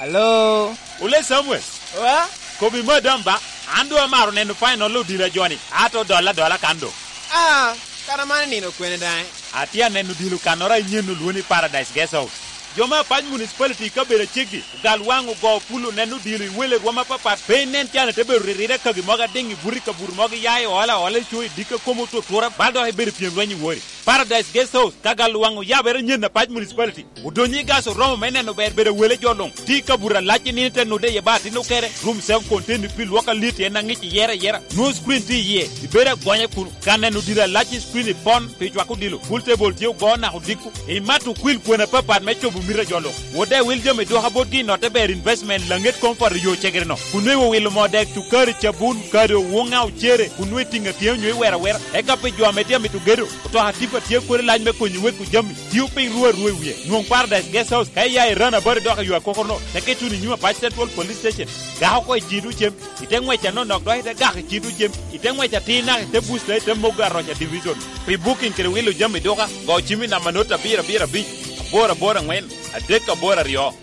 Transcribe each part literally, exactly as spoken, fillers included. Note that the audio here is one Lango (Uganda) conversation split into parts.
Alo? Ole Samuel. Wa? Kobi madam ba, an doŋ amaro neno final odilo a joni, ato dolla adola kan doŋ. Ah, kara man nino kwene daŋ? Atye aneno odilo kannoro a inyen olwoni Paradise Guest House. Jo me Apac Municipality i kabedo aceggi, ogal waŋ ogo pulo neno odilo i wele rwom apapat, pe inen can ite bedo riride kagi mogo adiŋ i buto i kabuto mogo iya i ola ola i co i dikka komo otutura, bal dok ibedo i pyem rweny i wori. Paradise Guest House, ka gal waŋ oyabere nyen Apac Municipality. Odonyo i gas oromo me neno ber bedo wele jo luŋ. Tye i kabuto alac i nino te nude iye ba atin okere. Room self contained pi lwok alit en aŋic iyere ayera. Nwoŋo screen tye iye. Ibedo agonya kun ka neno dilo alac i screen i pon pi cwako dilo. Pool table tye ogo naka odiko. Imato okwil kwena apapat me cobo mito a jo luŋ. Wode wil jami dwoka botgi i notte ber investment laŋet koŋ poto yo cegere no. Kun nweŋo wilo moo dek cukari cabun kado woŋa ocere kun nweŋo itiŋa tye onyo iwero awera. Eka pi jo ame tye amito gedo, otoka tipa tye kodi lac me konyo weko jami. Tio piny ruu arua i wie. Nwoŋ Paradise Guest House ka iya i rana bari dok i yo akokoro-no, teke tuno i nyim Apac Central Police Station. Gako oko i Cido Cem, ite ŋwec anonok dok ite gako i Cido Cem, ite ŋwec atir naka ite busta ite mogo aroca division. Pi booking kede wilo jami duka, go cim i namba not abiro abiro abic, aboro aboro aŋwen, adek aboro aryo.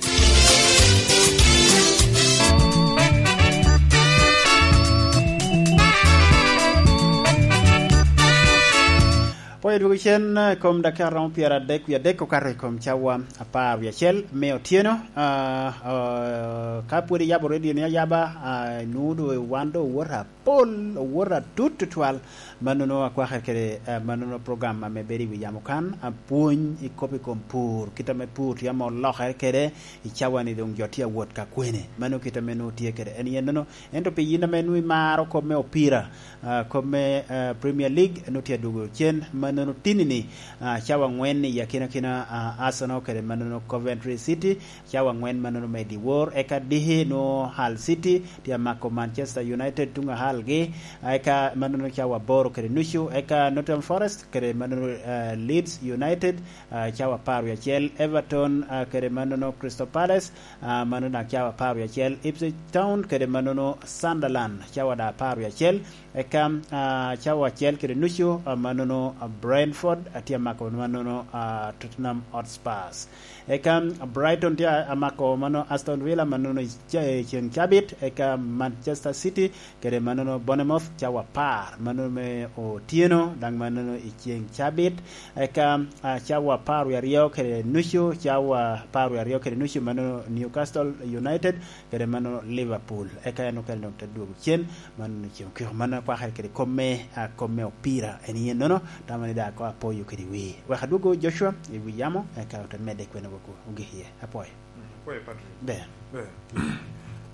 Pwony odwogo cen, eh, kom dakika romo pyeradek wie adek okato i kom cawa apar wie acel me otyeno. Ah, ah, ka pwod iyabo redioni ayaba, ah, inwoŋo doŋ wan doŋ owoto apol, owoto atut tutwal. Mannono akwakere kede, ah, mannono program ame bedo i wi yamo kan, apwony i kop i kom pur, kit ame pur tye ame olokere kede i cawa-ni, doŋ jo tye awot ka kwene. Mano kit ame nwoŋo tye kede en yennono. Ento pi yin ame nwoŋo imaro kop me opira, ah, kop me, ah, Premier League, nwoŋo tye adwogo cen, mannono tini-ni, ah, cawa aŋwen i akinakina, ah, Arsenal kede mannono Coventry City, cawa aŋwen mannono me dyewor, eka diki nwoŋo Hull City tye amako Manchester United tuŋ a Hull-gi, eka mannono cawa aboro kede nucu, eka Nottingham Forest kede mannono, ah, Leeds United, ah, cawa apar wie acel, Everton, ah, kede mannono Crystal Palace, ah, mannono daŋ cawa apar wie acel, Ipswich Town kede mannono Sunderland, cawa daŋ apar wie acel, eka, ah, cawa acel kede nucu, ah, mannono, ah, Brentford, ah, tye amako mannono, ah, Tottenham Hotspurs. Eka, ah, Brighton tye amako mano Aston Villa, mannono i ce-, i ceŋ cabit, eka Manchester City kede mannono Bournemouth cawa apar, mannono me otyeno, daŋ mannono i ceŋ cabit. Eka, ah, cawa apar wie aryo kede nucu, cawa apar wie aryo kede nucu, mannono Newcastle United kede mannono Liverpool. Eka en okene doŋ te dwogo cen, mannono ceŋ okiko. Mannono akwakere kede kop me, ah, kop me opira en yennono, tamo ni daŋ ko apoyo kede wi. Wek adwogo Joshua i wi yamo, eka ote medde kwene woko ogik iye. Apwoyo. Mm, apwoyo, Patrick. Ber. Ber.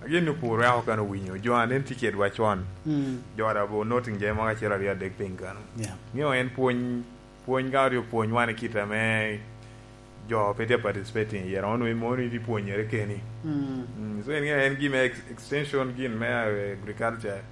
Agin ni opur wek okano winyo. Jo a nen tye kedwa con. Mm. Jo a daŋ bo noting jami mogo acel aryo adek piny kano. Yeah. Miyo en pwony, pwony ka oryo pwony wan i kit ame jo pe tye participating i yero, onongo mono itye pwonyere keni. Mm. Mm, so en, en gin me ex-, extension gin me, eh, agriculture.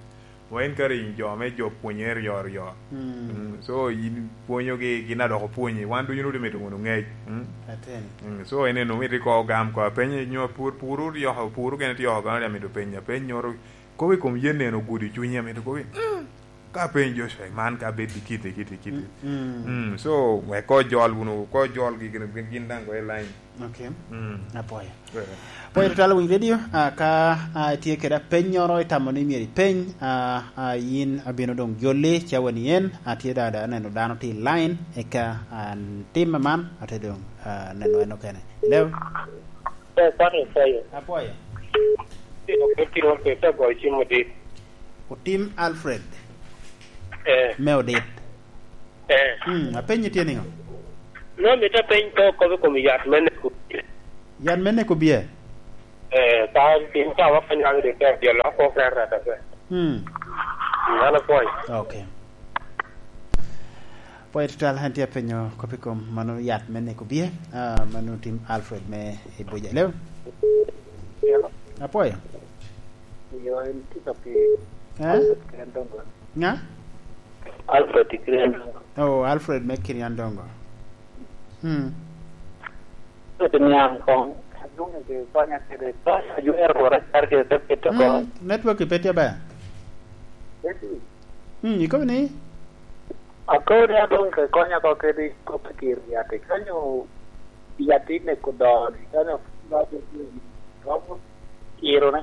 Wa en kare in jo me jo pwonye ryo ryo. Mm. Mm, so in pwonyogi, gin a dok opwonyi. Wan ducu nwodo mito wunu ŋec. Mm. Ateni. Mm, so en eno mito iko gam ko apenye nyo pur, pur oryoko, pur okene tye oko, kono amito penyo, apeny nyoro, kobo i kom yen eno ogudi cunyi, amito kobo, mm, ka apeny Joshua, man ka bed i kiti, kiti, kiti. Mm, mm. Mm, so wek ko jol wunu, ko jol gi gin, gin, gin daŋ go i line. Okay. Mm. Apwoyo. Eh. Apwoyo tutwal winy radio, ah, ka, ah, itye kede apennyoro itamo ni myero ipeny, ah, ah, yin abino doŋ jolli cawa ni en, atye da, da neno dano tye i line, eka, ah, timme man, ate doŋ, ah, neno en okene. Hello? Eh, sorry, sorry. Apwoyo. Otim Alfred. Eh. Me Odit. Eh. Mm, apenyi tye niŋo? No, mito apeny pe okobo i kom yat me neko bie. Yat me neko bie? Eh, ka tin ka wakanyo ang' rik tek jolo ko ker rata pe. Mm. Mm, an apwoyo. Okay. Apwoyo tutwal, an tye apenyo kop i kom mano yat me neko bie, ah, mano tim Alfred me Ibuja. Hello? Hello? Apwoyo. Yo, en tye ka pi-, eh? Alfred Kiriandongo. Ŋa? Alfred Kiriandongo. Oh, Alfred me Kiriandongo. Hmm. Alfred niaŋ koŋ. Adwoŋ ke konya kede. Konya jwero wora car kede te pito ko. Hmm, network pe tye ber. Eti. Hmm, ikobo ni? Akobo ni adwoŋ ke konya ko kede kop i kir yat. Kanyo yat ine kudo. Kanyo Iro ne.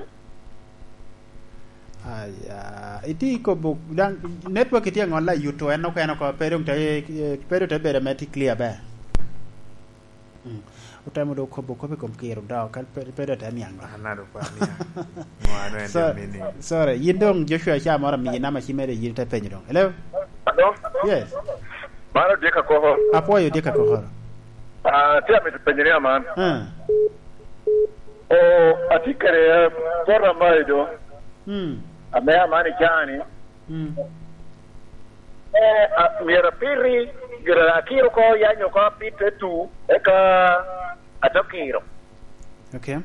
Aya, iti kobo, dang, network iti aŋolla yuto en okene oko, pe dong te, pe dong te bedo ame ti clear ber. Mm. Otemo do kobo kobo i kom kiro do, ka pe, pe do te niaŋ do. Ana do kwa niaŋ. Ngwa no en So-, de mini. Sorry, yin dong Joshua ca moro amiyi nama ci mere yin te penyo dong. Hello? Hello? Yes. Mano Dick Akoko. Apwoyo Dick Akoko. Ah, tye amito penyo ni aman. Ah. O, atye kede, eh, poto amayi do. Hmm. Ame aman icani. Hmm. Eh, a, myero apiti, gira akiro ko, yanyo ko apite tu, eka ato kiro. Okay.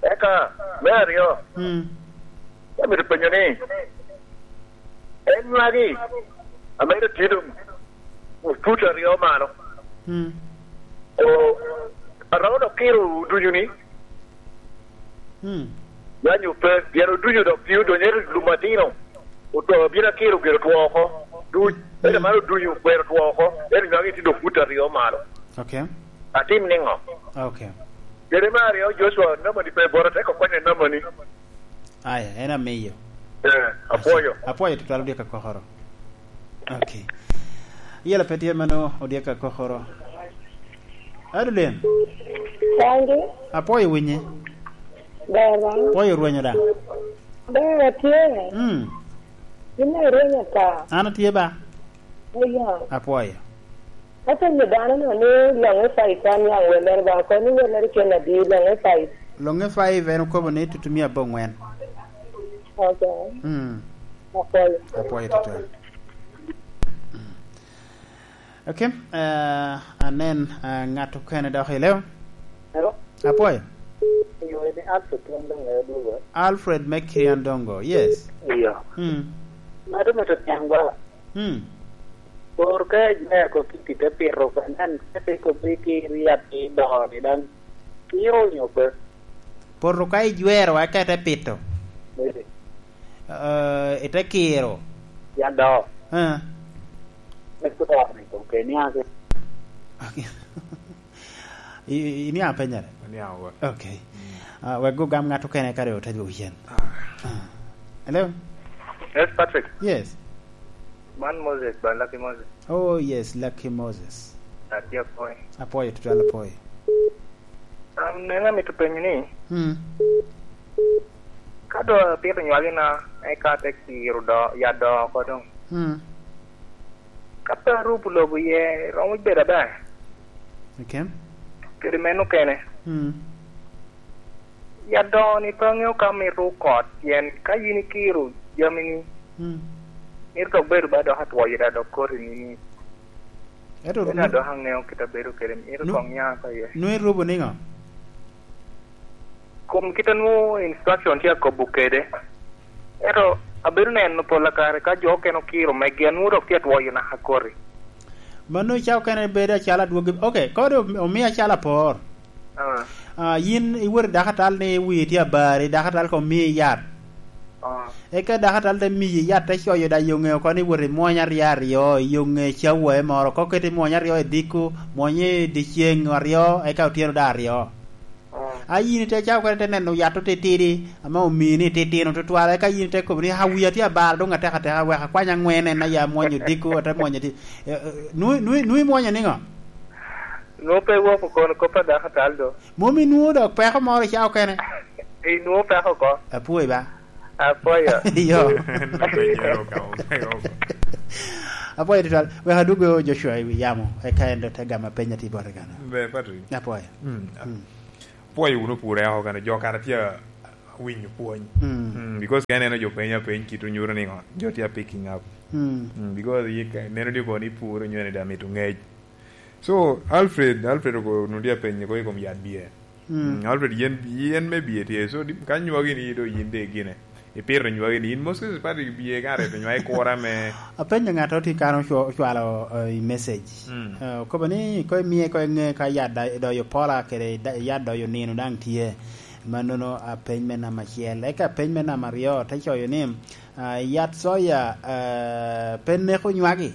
Eka, me aryo, hmm, amito penyo ni, en nywagi, ame en otye doŋ fut aryo malo. Hmm. O, aromo dok kiro ducu ni, hmm, yanyo pe, pien oducu dok tye odonyo, ento lum atino, oto, bino akiro gire otwo oko. Duc, hmm, ento man oducu okwero otwo oko, ento nywagi tye dok fut aryo malo. Okay. Atim niŋo? Okay. Kede me aryo, Joshua, namani pe bota, te ko konye namani. Aya, en amiyo. Eh, apwoyo. Apwoyo tutwal Odyek Akokoro. Okay. Yela pe tye mano Odyek Akokoro. Adulen. Sangi. Apwoyo winyi. Ber ba? Apwoyo rwenyo da. Ber atye. Mm. Yin irwenyo ta. An atye ba. Oya. Apwoyo. Apenyo dano no ni Loŋe Five an ya welere ba, kono ni welere kene adi Loŋe Five? Loŋe Five en okobo ni tutumia abongwen. Okay. Mm. Apwoyo. Apwoyo tutwal. Mm. Okay, eh, anen, eh, ŋat okene dok i leo. Hello? Apwoyo. Yo, ni Alfred Kiandongo, Alfred me Kiandongo, yes. Iyo. Mm. Ŋat me to tiang ba. Hmm. Por ka ijwero kop i te pito, ka nen, ka te kop i kir yat i doo ni daŋ kiro onyo pe? Poto ka ijwero, eka ite pito. Bebe. Eh, ite kiro. Yat doo. Eh. Me kuto ni kop ke niaŋ ke. Okay. I, i, iniaŋ penyere? Aniaŋ wa. Okay. Mm. Ah, wek go gam ŋat okene kare ote dwogo cen. Ah. Ah. Hello? Yes, Patrick. Yes. Man Moses, ba Lucky Moses. Oh, yes, Lucky Moses. Atye apwoyo. Apwoyo, tutwal apwoyo. Um, nena mito penyo ni, hmm, ka do apito nywagi na, eka te kiro do, ya do oko doŋ. Hmm. Ka pe arubo lobo iye, romo bedo aber. Okay. Kede meno kene. Hmm. Ya do ni pe aŋeo ka mito kot, pien ka yin ikiro jami ni, hmm, mito dok bedo ba dok atwoyo da dok koti ni ni. Ento ena nu-, dok aŋeo kit abedo kede, mito nu-, koŋ nya ka iye. Nu irubo niŋo? Kom kit a nwoŋo instruction tye akobo kede. Ento abedo neno pol a kare ka jo okene okiro megi, anwoŋo dok tye atwoyo naka koti. Mano ca okene bedo acalo adwogi. Okay, kodi om-, omi acalo apor. Ah. Ah, yin iwot i dakatal ni wii tye abar, i dakatal ka omi yat. Ah. Eka dakatal te miyi yat, te coyo da yo ŋe oko ni wot i mwony aryo aryo, yo ŋe cawae moro, ka oketi mwony aryo i diko, mwony i dyeceŋ aryo, eka otyeno da aryo. Ah. A yin ite cawa kene te neno yat otitidi, ame omini titino tutwal, eka yin ite kobo ni, "Ah, wia tye abalo, dong atek ateka, wek akwany aŋwen en aya mwonyo diko, ate mwonyo di-," eh, eh, nwi-, nwi-, nwi mwonyo niŋo? Nwo pe iwoko kono kop a dakatal do. Mom inwo dok peko moro i cawa kene? Inwo peko ko? Apwoyo ba. Apwoyo. Yo. Apwoyo tutwal. Wek adwogo Joshua i wi yamo, eka en do te gamo peny atir bote gana. Be, Patrick. Apwoyo. Mm. Mm. Pwoyo wunu pure oko kene, jo kara tye awinyo pwony. Mm. Mm, because ka ineno jo penyo apeny kit onyuto niŋo, jo tye a picking up. Mm. Mm, because yi ka, neno di kono ni puro nyo ni da mito ŋec. So, Alfred, Alfred oko nudi apenyo ko i kom yat bie. Mm. Mm, Alfred, yen, yen me bie tye. So, di-, ka nywagi ni do yin de gine. Ipito nywagi ni, in Moses Patrick bie ka reto nywagi kura me. Apenyo ŋat oti kan ocwa-, ocwalo, eh, i message. Mm. Eh, okobo ni, ko imiye ko iŋe ka yat da-, doyo pola kede da-, yat doyo nino daŋ tye. Mannono apeny me namba acel. Eka apeny me namba aryo te coyo ni, ah, yat soya, eh, pe neko nywagi.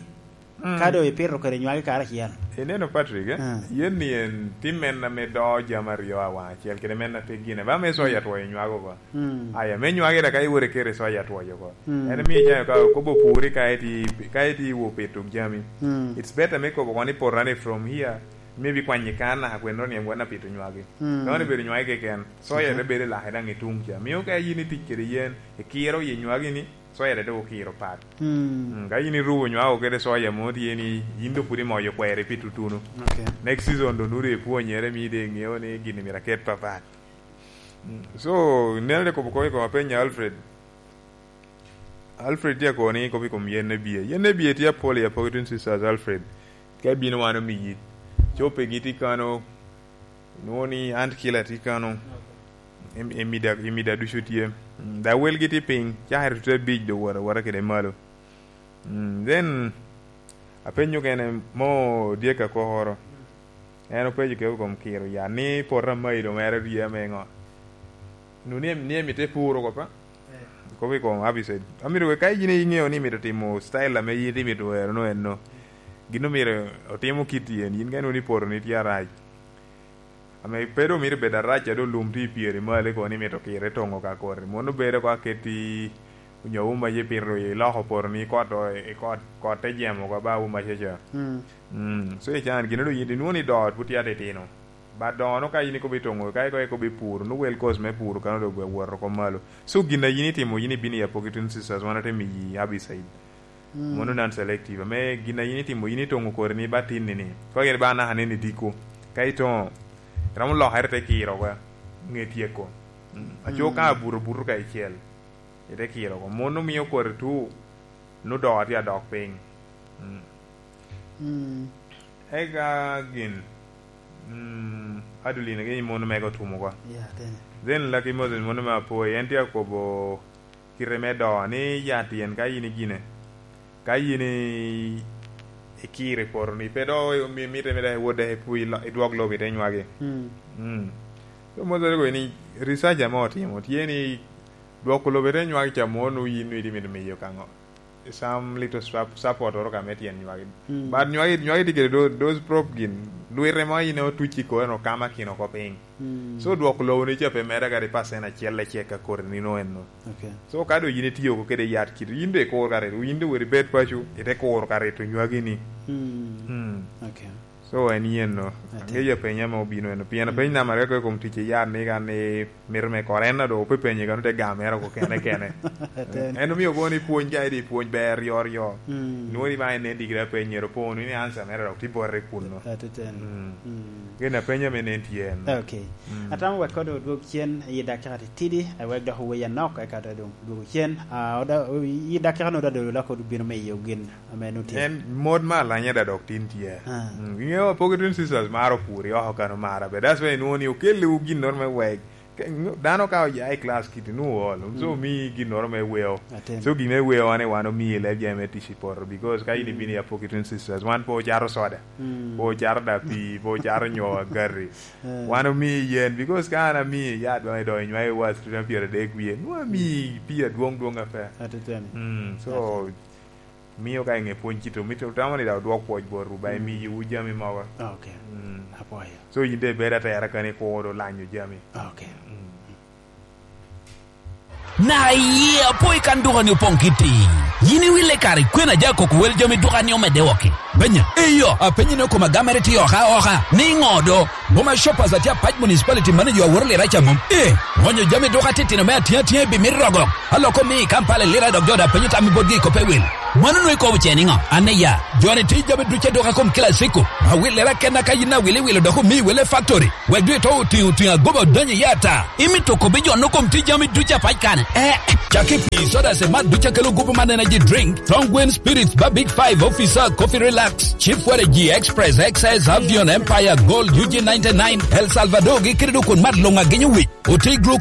Mm. Ka doŋ ipito kede nywagi karacel. Ineno, Patrick, eh? Ah. Yen ni en tim men ame do jami aryo awaŋ acel, kede men ate gine. Ba me soya, mm, twoyo nywako oko. Mm. Aya, me nywagi da ka iwore kere soya twoyo oko. Mm. En miyo jami ka kobo puri ka iti, ka iti wo pito jami. Mm. It's better me kobo kono ni poto ni from here, maybe kwanyi kan naka kweno ni en wan apito nywagi. Mm. Ka wan ibedo nywagi keken, soya, okay, te bedo lake daŋ i tung ca. Miyo ka yin itic kede yen, ikiro i nywagi ni, soya te dok okiro pat. Mm. Mm, ka yin irubo nywako kede soya mo tye ni, yin dok pwod imoyo kweri pi tutunu. Okay. Next season do nuri ipwonyere, mi de iŋeo ni gini myero aket papat. Mm. So, neno de kobo kobo i kom apenyo Alfred. Alfred tye akoni kop i kom yen ebie. Yen ebie tye apol i Apogetin Sisters, Alfred. Ka ibino wan omiyi. Copegi tye kano, inwoŋo ni ant kila tye kano. Em-, emida, emida ducu tye. Mm, da welgi tye piny, cakere tute abic do wot awota kede malo. Mm, then, apenyo kene mo dyek akokoro. En openyo kede kom kiro ya, ni poto amayi do mere rye ame ŋo? Nu ni, ni emite puro ko pa? Eh. Kop i kom Abicide. Amito we ka yin iŋeo ni imito timo style ame yin imito wero no en no. Gin omito otimo kit yen, yin ka inwoŋo ni poto ni tye arac. Ame pe doŋ mito bedo arac, a doŋ lum tye i pyere malo, kono ni mito kire toŋo ka koti. Mono bedo ko aketti onyo wuma ye pito i loko poto ni kot o-, i kot, kot te jemo ka ba wuma ceca. Mm. Mm. So, i can gin doŋ yin inwoŋo ni dot pwod tye atitino. Ba dono ka yin ikobo itoŋo, ka ikobo, ikobo i pur, no well cost me pur kano doŋ gwe woto oko malo. So, gin a yin itimo, yin ibino i Apogetin Sisters, wan ate miyi Abicide. Mm. Mono non selective. Ame gin a yin itimo, yin itoŋo kori ni ba tinni ni. Kwa gin ba anaka ni ni diko. Ka itoŋo, romo lokere te kiro kwa. Ŋe tyeko. Mm. Aco, mm, ka abuto buto ka icel. Ite kiro ko. Mon omio koti tu, nu do tye adok piny. Mm. Mm. Eka gin, mm, Adeline gin mon mege otumo ko. Yeah, then. Then Lucky Moses mon me Apoi, en tye akobo kite me do, ni ya tyen ka yin igine. Ka yin i-, ikiro i poto ni, pe do mi-, mitte, mitte wode i pu-, i lo-, i dwok lobo ite nywagi. Mm. Mm. So, Moses ko ni research ame otimo, tye ni dwoko lobo ite nywagi ca mo, nu yin nu itye mito miyo ka ŋo? Some little sup-, support oro ka me tyen nywagi. Mm. But nywagi, nywagi tye kede tho-, those prop gin, lwite mo yin otuc i kore no kama kino oko piny. Mm. So, dwoko lobo ni ca pe mere kadi percent acel lecek a kore ni no en no. Okay. So, ka do yin itiyo ko kede yat kit, yin do ikuro ka ret, yin do weri bed paco, ite kuro ka ret onywagi ni. Mm. Mm. Okay. So, en yen no. Ate. Angeyo apenya ma obino en. Pien, mm, apeny nama reko i kom tic i yat ni kan ni mito me kore en do pe penye kano te gamere ko kene kene. Ate. En omio kono ni pwony ka idi pwony ber ryo ryo. Mm. Nwori ba en nen digiri apenyere po ni answer mere dok ti borre kuno. Ate ten. Mm. Mm. Gin apenya me nen tye en. Okay. Mm. Atamo wek kodo odwog cen i dakika titidi, ewek dok oweya nok, eka doŋ dwogo cen. Ah, oda-, i dakika no oda dolo lako bino me iyo gin ame nu tye. En mod me alanya da dok tin tye. Ah. Mm, iŋeo Apogetin Sisters maro puri oko kano mara be. That's why inwoŋo ni okelliwu ginnoro me wek. Ke-, dano ka oya i class kiti nu ol. So, mm, omi ginnoro me weo. Atem. So, gin me weo ane wan omi i leb jami me tic i poto. Because ka in, mm, ibino i Apogetin Sisters, wan pe ocato soda. Mm. Pe ocato da pii, pe ocato nyo agati. Eh. Wan omi yen, because ka an ami ya dwaŋ idonyo nywai wa student pyeradek wie, nwa ami pii adwoŋ dwoŋ ape. Ateteni. Mm, so, ateteni. Miyo ka iŋe pwony kito, mito tamo ni da odwok pwoc botwu, ba, mm, imiyo wu jami mogo. Okay. Mm. Apwoyo. So, yin de ibed atera kani kuro lanyo jami. Okay. Mm. Na iye apo i kan dukani opoŋ kiti. Yin iwille kare kwena ja koko wel jami dukani omedde woko. Benya, eyo, apenyi ni okoma gamere tye oka oka. Ni ŋo do? Boma Shoppers atye apac municipality manager aworo lira ca mom. Eh, ŋonyo jami duka titino me atiŋ atiŋ i bimit rogo. Aloko mi i Kampala i lira dok jo da penyo tammi botgi i kope wil. Mano nwe ikobo ce niŋo? An eya, joni ti jami duce duka kom kila siko. Awillera kenna ka yin awili wilo dok omi wele factory. Wek dwe to otiŋo tiŋo agoba odonyo i ata. Imito kobbi jo no kom ti jami ducu apac kane? Eh, cak i pii, soda, cemat ducu akelo gupu man energy drink, Strong Wind Spirits, ba Big Five, Officer, Coffee Relax, Chief Waragi, Express, X S, Avion, Empire, Gold, U G ninety-nine, El Salvador, gi kede dok kun mat luŋ agenyo wic. Oti glucose